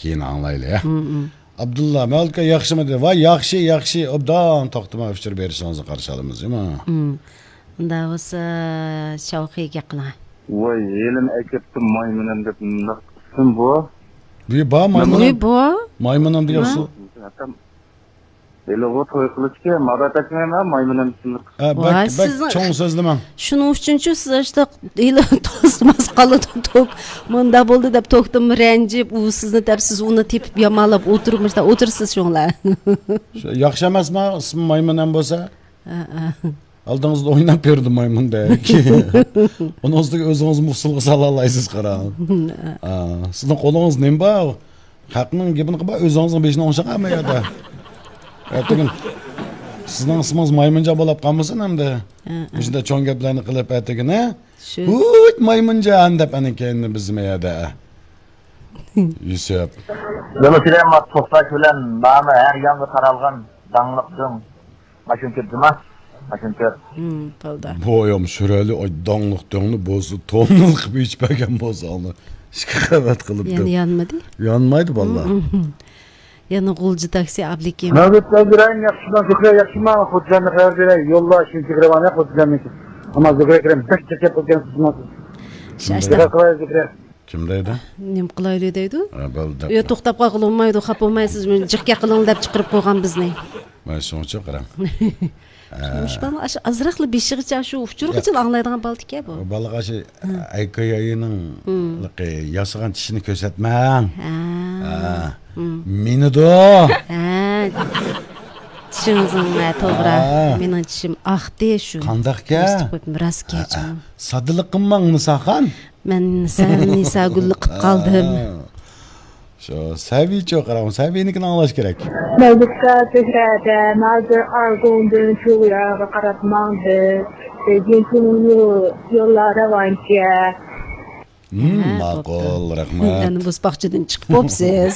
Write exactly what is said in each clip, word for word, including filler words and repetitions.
كېيىن ئاڭلايلى، ھە؟ ئابدۇللا، مەۋلۇت ئاكا ياخشىمۇ دېدى. ۋاي، ياخشى، ياخشى، ئوبدان توختىماي ئۇچۇر بېرىشىڭىزنى قارشى ئالىمىز، جۇمۇ. ئۇنداق بولسا، شاۋقى گەپ قىلىڭ. ۋاي، ھېلىمۇ ئەكەپتۇ مايمۇنەم دەپ مۇنداق ئىسىم بۇ. بۇ بار مايمۇنەم. بۇ بار. مايمۇنەم دېگەن سو-، ھېلىغۇ توي قىلىشكە مادات ئەتمەيمەن، مايمۇنەم ئىسىملىق. ھە، بەك، ۋاي، بەك سىزنىڭ چوڭ سۆزلىمەڭ. شۇنىڭ ئۈچۈنچۇ سىز ئاشتا ھېلى توسماس قالىدۇ توك. مۇندا بولدى دەپ توكتىن رەنجىپ، ئۇ سىزنى دەپ، سىز ئۇنى تېپىپ يامانلاپ ئولتۇرمۇشتا ئولتۇرىسىز شۇڭلار. شۇ ياخشى ئەمەسما، ئىسمى مايمۇن ھەم بولسا؟ ھە، ھە. ئالدىڭىزدا ئويناپ بېرىدۇ مايمۇندەك. ئۇنىڭ ئۈستىگە ئۆزىڭىزمۇ ئۇسسۇلغا سالالايسىز، قاراڭ. ھە. ئا، سىزنىڭ قولىڭىز نېمە بار؟ خەقنىڭ گېپىنى قىلما، ئۆزىڭىزنىڭ بېشىنى ئوڭشاڭ ھەممە يەردە. ئەتىگىن سىزنىڭ ئىسمىڭىز مايمۇنجان بولۇپ قالمىسۇن ئەمدى. ھە، ھە. مۇشۇنداق چوڭ گەپلەرنى قىلىپ ئەتىگىنى. شۇ. ھۇيت مايمۇنجان دەپ ئەنە كەينىنى بىزمۇ يەردە. يۈسۈپ. يولۇ سۈلەيمان توختاش بىلەن مانا ھەر يانغا تارالغان داڭلىق دۆڭ. ماشىنا كۆپ جۇما. ماشىنا كۆپ. ھىم، بالدا. بۇ ئايام شۆرەلى ئاي داڭلىق دۆڭنى بولسا توننىلىق قىلىپ ئېچىپ بەرگەن بولسا ئانا. ئىككى قەۋەت قىلىپ يەنە دەپ. يانمىدى؟ يانمايدۇ باللا. ھىم، ھىم. يەنە غۇلجا تاكسى ئابلىكىم. مەۋلۇت ئەبدۇرەھىم ياخشىمۇ؟ زۇكرە ياخشىمۇ؟ خوتۇنلارنى خەۋەر بېرەي. يولدا شۇنچە كىرىۋالماي خوتۇنلارنىكى. ئەمما زۇكرە كىرەم بەك چەكچەپ قويغان سىزمۇ. شاشتا. زۇكرە قىلاي زۇكرە. كىم دەيدۇ؟ نېمە قىلايلى دەيدۇ؟ ھە، بولدى. يا، توختاپ قالغىلى بولمايدۇ، خاپا بولمايسىزمۇ؟ جىق گەپ قىلىڭ دەپ چىقىرىپ قويغان بىزنى. مانا شۇنىڭ ئۈچۈن قاراڭ. ھە. مۇشۇ بالىنىڭ ئاشۇ ئازراقلا بېشىغىچە شۇ ئۇچۇرغىچىلا ئاڭلايدىغان بالا ئىكەن بۇ. بالىغا شۇ ھە. ئەيكاياينىڭ ھىم. ياسىغان چىشىنى كۆرسەتمەڭ. ھە. ھە. ھىم. مىنىدۇ. ھە. چىشىڭىزنىڭ، ھە، توغرا. ھە. مېنىڭ چىشىم ئاقتى شۇ. قانداقكەن؟ راست ھە، گەپ ھە. ساددىلىق قىلماڭ، نىساخان. مەن سەل نىساگۈللۈك قىپ قالدىم. ھە. شۇ سەبىيچۇ قاراڭ، سەبىينىڭكىنى ئاڭلاش كېرەك. مەۋلۇتكا، زۆھرەدە، ھازىر ئارغۇندىن تۇغياغا قاراپ ماڭدى. بېيجىڭ تۇڭلۇ يوللار راۋانچە. ھىم، ھە، ماقۇل، بوپتۇ. رەھمەت. يەنە بۇز باغچىدىن چىقىپ بوپسىز.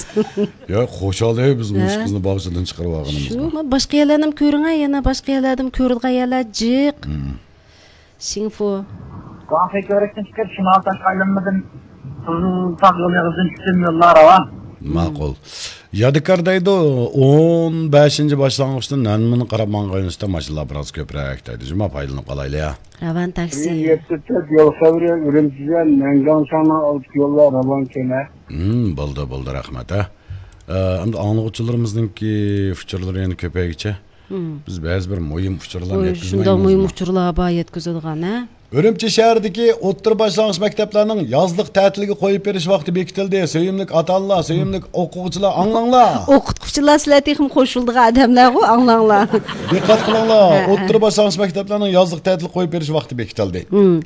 يا، خۇشال ئەي، بىز ھە. مۇشۇ قىزنى باغچىدىن چىقىرىۋالغىنىمىزغا. شۇ، ما-، باشقا يەرلەرنىمۇ كۆرۈڭە، يەنە باشقا يەرلەردىمۇ كۆرىدىغان يەرلەر جىق. ھىم. شىڭفۇ. گۇاڭخې كۆۋرۈكتىن چىقىپ، شىمال تاشقى ئايلانمىدىن قىزىل تاغ يول ئېغىزىدىن چۈشتۈم، يوللار راۋان. ماقۇل. يادىكار دەيدۇ، ئون بەشىنچى باشلانغۇچتىن نەنمىنى قاراپ ماڭغان يۈزتە ماشىنىلار بىراز كۆپرەك دەيدۇ. جۇما پايدىلىنىپ قالايلى يا. راۋان تاكسى. يەتتە تۆت يول خەۋىرى، ئۈرۈمچىدە نەنگاڭشاڭنىڭ ئالدىدىكى يوللار راۋان كېمە. ھىم، بولدى، بولدى، رەھمەت، ھە. ئە، ئەمدى ئاڭلىغۇچىلىرىمىزنىڭكى ئۇچۇرلىرى يەنە كۆپەيگىچە، ھىم. بىز بەزى بىر مۇھىم ئۇچۇرلارنى ۋوي، يەتكۈزمەيمىزمۇ؟ شۇنداق مۇھىم ئۇچۇرلار بار يەتكۈزىدىغان، ھە؟ ئۈرۈمچى شەھىرىدىكى ئوتتۇرا باشلانغۇچ مەكتەپلەرنىڭ يازلىق تەتىلگە قويۇپ بېرىش ۋاقتى بېكىتىلدى. سۆيۈملۈك ئاتا-ئانىلار، سۆيۈملۈك ئوقۇغۇچىلار، ئاڭلاڭلار! ئوقۇتقۇچىلار، سىلەر تېخىمۇ قوشۇلىدىغان ئادەملەرغۇ، ئاڭلاڭلار! دىققەت قىلىڭلار، ھە، ھە. ئوتتۇرا باشلانغۇچ مەكتەپلەرنىڭ يازلىق تەتىل قويۇپ بېرىش ۋاقتى بېكىتىلدى. ھىم.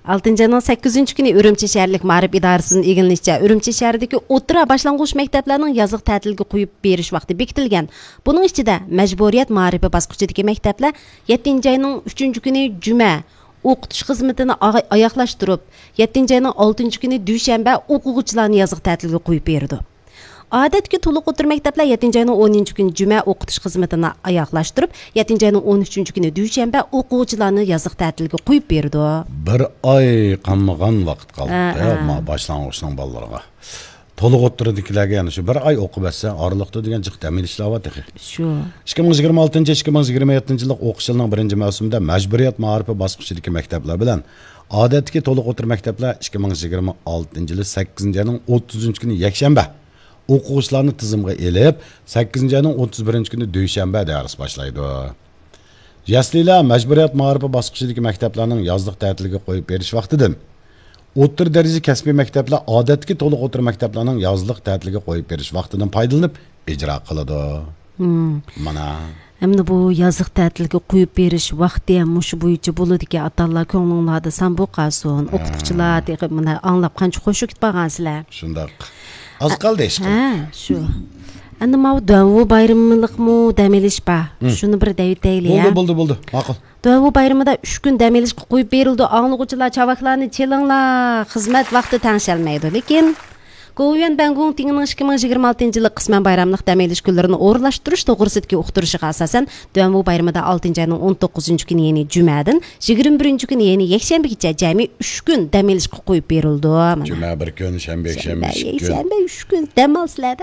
ئالتىنچى ئاينىڭ سەككىزىنچى كۈنى ئۈرۈمچى شەھەرلىك مائارىپ ئىدارىسىدىن ئىگىلىنىشىچە، ئۈرۈمچى شەھىرىدىكى ئوتتۇرا باشلانغۇچ مەكتەپلەرنىڭ يازلىق تەتىلگە قويۇپ بېرىش ۋاقتى بېكىتىلگەن. بۇنىڭ ئىچىدە مەجبۇرىيەت مائارىپى باسقۇچىدىكى مەكتەپلەر يەتتىنچى ئاينىڭ ئۈچىنچى كۈنى جۈمە ئوقۇتۇش خىزمىتىنى ئاغا-، ئاياغلاشتۇرۇپ، يەتتىنچى ئاينىڭ ئالتىنچى كۈنى دۈشەنبە ئوقۇغۇچىلارنى يازلىق تەتىلگە قويۇپ بېرىدۇ. ئادەتتىكى تولۇق ئوتتۇرا مەكتەپلەر يەتتىنچى ئاينىڭ ئونىنچى كۈنى جۈمە ئوقۇتۇش خىزمىتىنى ئاياغلاشتۇرۇپ، يەتتىنچى ئاينىڭ ئون ئۈچىنچى كۈنى دۈشەنبە ئوقۇغۇچىلارنى يازلىق تەتىلگە قويۇپ بېرىدۇ. بىر ئاي قالمىغان ۋاقىت قالدى، ھە، ھە. ما باشلانغۇچنىڭ بالىلىرىغا. تولۇق ئوتتۇرىدىكىلەرگە يەنە شۇ بىر ئاي ئوقۇپ ئەتسە، ئارىلىقتا دېگەن جىق دەم ئېلىشلار بار تېخى. شۇ. ئىككى مىڭ يىگىرمە ئالتىنچى، ئىككى مىڭ يىگىرمە يەتتىنچى يىللىق ئوقۇش يىلىنىڭ بىرىنچى مەۋسۇمىدا مەجبۇرىيەت مائارىپى باسقۇچىدىكى مەكتەپلەر بىلەن ئادەتتىكى تولۇق ئوتتۇرا مەكتەپلەر ئىككى مىڭ يىگىرمە ئالتىنچى يىلى سەككىزىنچى ئاينىڭ ئوتتۇزىنچى كۈنى يەكشەنبە ئوقۇغۇچىلارنى تىزىمغا ئېلىپ، سەككىزىنچى ئاينىڭ ئوتتۇز بىرىنچى كۈنى دۈشەنبە دەرس باشلايدۇ. يەسلىلەر مەجبۇرىيەت مائارىپى باسقۇچىدىكى مەكتەپلەرنىڭ يازلىق تەتىلگە قويۇپ بېرىش ۋاقتىدىن، ئوتتۇرا دەرىجە كەسپىي مەكتەپلەر ئادەتتىكى تولۇق ئوتتۇرا مەكتەپلەرنىڭ يازلىق تەتىلگە قويۇپ بېرىش ۋاقتىدىن پايدىلىنىپ ئىجرا قىلىدۇ. مم. مانا. ئەمدى بۇ يازلىق تەتىلگە قويۇپ بېرىش ۋاقتى ھەم مۇشۇ بويىچە بولىدىكەن، ئاتا-ئانىلار كۆڭلۈڭلاردا سان بولۇپ قالسۇن. ھە. ئوقۇتقۇچىلار تېخى مانا ئاڭلاپ قانچە خۇشۇ كېتىپ قالغان سىلەر. شۇنداق. ئاز قالدى، ئىشقىلىپ. ھە، شۇ. ئەمدى ماۋۇ دۇەنۋۇ بايرىملىقمۇ دەم ئېلىش بار. ھىم. شۇنى بىر دەيۋېتەيلى، بولدى، ھە؟ بولدى، بولدى. ماقۇل. دۇەنۋۇ بايرىمىدا ئۈچ كۈن دەم ئېلىشقا قويۇپ بېرىلىدۇ. ئاڭلىغۇچىلار، چاۋاكلارنى چېلىڭلار، خىزمەت ۋاقتى تەڭشەلمەيدۇ. لېكىن، گوۋۇيۈەن بەنگۇڭتىڭنىڭ ئىككى مىڭ يىگىرمە ئالتىنچى يىللىق قىسمەن بايراملىق دەم ئېلىش كۈنلىرىنى ئورۇنلاشتۇرۇش توغرىسىدىكى ئۇقتۇرۇشىغا ئاساسەن، دۇەنۋۇ بايرىمىدا ئالتىنچى ئاينىڭ ئون توققۇزىنچى كۈنى، يەنى جۈمەدىن يىگىرمە بىرىنچى كۈنى، يەنى يەكشەنبىگىچە جەمئىي ئۈچ كۈن دەم ئېلىشقا قويۇپ بېرىلىدۇ. مانا. جۈمە بىر كۈن، شەنبە، يەكشەنبە ئىككى كۈن. يەكشەنبە ئۈچ كۈن دەم ئالسىلەر.